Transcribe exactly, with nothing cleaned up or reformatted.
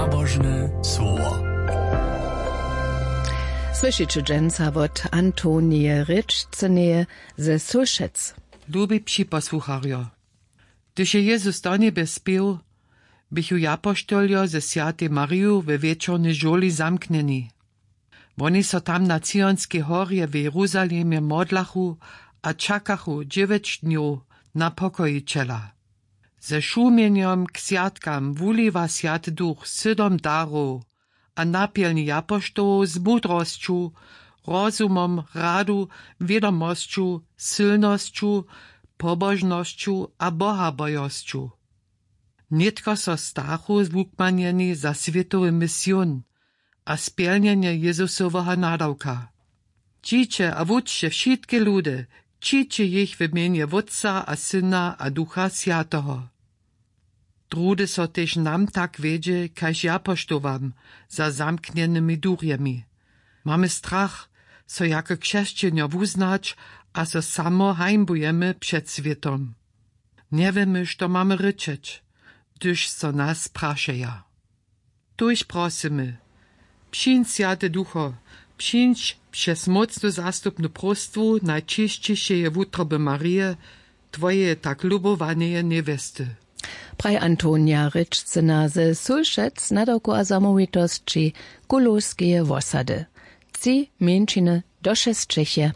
Božne słowo. Słyšiće dźensa wot Antonije Rěčcyneje ze Sylšec. Lubi připosłucharjo, hdyž je Jezus do njebje spěł, běchu japoštoljo ze swjatej Mariju we wječornej žurli zamknjeni. Woni so tam na Cionskej horje w Jeruzalemje modlachu a čakachu dźewjeć dnjow na pokojićela. Ze šumjenjom k swjatkam wuliwa Swjaty Duch sydom darow a napjelni japoštołow z mudrosću, rozumom, radu, wědomosću, sylnosću, pobožnosću a bohabojosću. Nětko so stachu wukmanjeni za swětowy mision a spjelnjenje Jezusoweho nadawka. Dźiće a wučće wšitke ludy, křiće jich w mjenje Wótca a Syna a Ducha Swjateho. Druhdy so tež nam tak wjedźe kaž japoštołam za zamknjenymi durjemi. Mamy strach, so jako křesćenjo wuznać a so samo hańbujemy před swětom. Njewěmy što mamy rěčeć, hdyž so nas prašeja. Tuž prosymy: Přińdź, Swjaty Ducho, přińdź přez mócnu zastupnu próstwu najčisćišeje wutroby Marije, twojeje tak lubowaneje njewjesty. Praj Antonija Rěčcyna ze Sylšec, nadawku a zamołwitosći Kulowskeje wosady. Tři mjeńšiny došesćeše.